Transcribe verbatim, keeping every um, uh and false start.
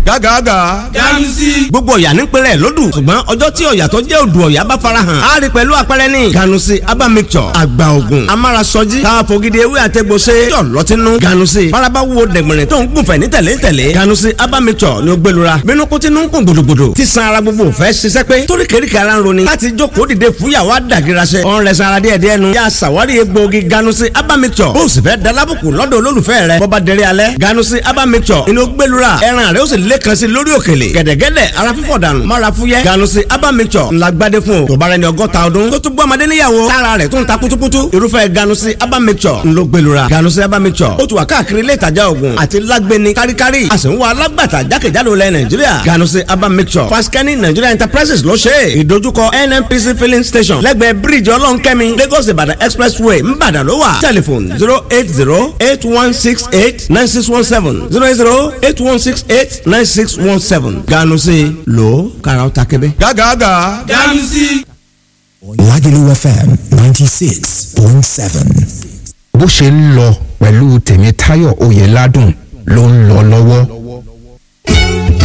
Gágàgà. Ganusi. Gbogbo ọ̀yà ní pẹ̀lẹ́ lódù, ṣùgbọ́n ọjọ́ tí ọ̀yà tó jẹ́ odò ọ̀yà bá farahàn á rí pẹ̀lú àpẹẹrẹ ní Ganusi aba mixture, àgbà ògùn amárasọjí káfogidi ewé àtẹgbọsẹ yọ lọtínú. Ganusi faraba wo dẹ̀gbọ̀nrín tó ń gùnfẹ̀ ní tẹ̀lé tẹ̀lé. Ganusi aba mixture ni ó gbẹlura bínú kó tinú ń kún gbòdògbòdò tí san ara gbogbo fẹ́ ṣiṣẹ́ pé torí kèrékè ara ń roni láti jókòó dìde fúyàwó àdàgìrasẹ. Ọ̀n rẹ̀ sara díẹ̀ díẹ̀ nu yà sàwárí egbòogi Ganusi aba mixture, bó o sì fẹ́ dalábùkù lọ́dọ̀ olólùfẹ́ rẹ̀ bọ́ba dẹrẹ́ alẹ́, Ganusi aba mixture inú gbẹlura ẹran rẹ̀ ó sì lẹ́kan sí lórí òkèlè gẹ̀dẹ̀gẹ̀dẹ̀, ara fífọ̀ dànù mára fúyẹ́. Ganusi aba mixture ńlá gbadé fún o tó bá rẹ ní ọgọ́ta ọdún tó tún bọ́ ọmọdé níyàwó tára rẹ̀ tó ń ta kutukutu, irúfẹ́ Ganusi aba mixture ńlọ gbẹlura. Ganusi aba mixture ó tún wà káàkiri ilé ìtajà oògùn àti lágbẹni káríkárí, a sì ń wá alágbàtà jákèjádò lẹ Nàìjíríà. Ganusi aba mixture, Faskani Nigeria Enterprises ló ṣe é, ìdojúkọ N N P C filling station, lẹ́gbẹ̀ẹ́ bíríìjì Ọlọ́nkẹ́mi, Lagos Ìbàdàn Expressway, Ńbàdàn ló wà. Telephone zero eight zero eight one six eight nine six one seven, zero eight zero eight one six eight nine six one seven. Ganusi lò kàrà ó ta kébé. Gágàgà. Ganusi. Lagelu F M ninety-six point seven. Bó ṣe ń lọ pẹ̀lú Tèmítáyọ̀ Oyèládùn ló ń lọ lọ́wọ́.